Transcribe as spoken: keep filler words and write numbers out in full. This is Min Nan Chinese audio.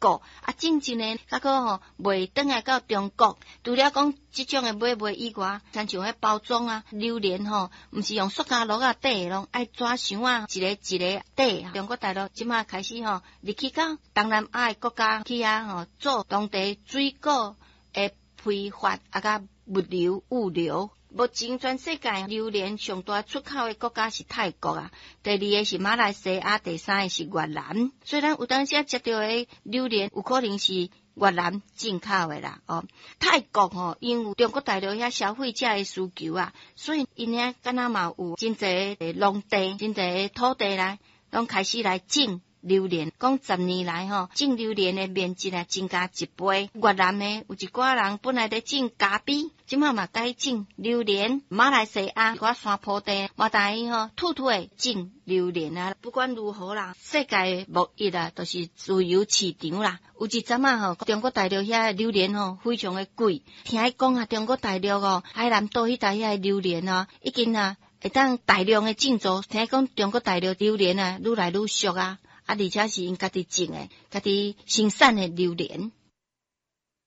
國，啊，種植呢，猶閣吼賣轉來到中國。除了講這種的買賣以外，親像彼包裝啊，榴蓮吼，毋是用塑膠袋仔袋，攏愛紙箱仔，一個一個袋。中國大陸這馬開始吼入去到東南亞的國家去遐吼做當地水果的批發啊，佮物流物流。目前全世界榴蓮上大出口的國家是泰國啊，第二个是馬來西亞，第三个是越南。所以咱有當時食著的榴蓮，有可能是越南進口的啦。哦，泰國吼，因為中國大陸遐消費者的需求啊，所以𪜶遐敢若嘛有真濟的農地、真濟的土地來，攏開始來種榴蓮。講十年來吼，種榴蓮的面積啊增加一倍。越南的有一寡人本來咧種咖啡，這馬嘛改種榴蓮。馬來西亞一寡山坡地嘛，逐伊吼揬揬的種榴蓮啊。不管如何啦，世界貿易啊，都是自由市場啦。有一陣仔吼，中國大陸遐榴蓮吼非常的貴。聽伊講啊，中國大陸哦，海南島彼帶遐榴蓮啊，已經啊會當大量的種植。聽講中國大陸榴蓮啊，愈來愈俗啊。啊，而且是𪜶家己種的，家己生產的榴蓮。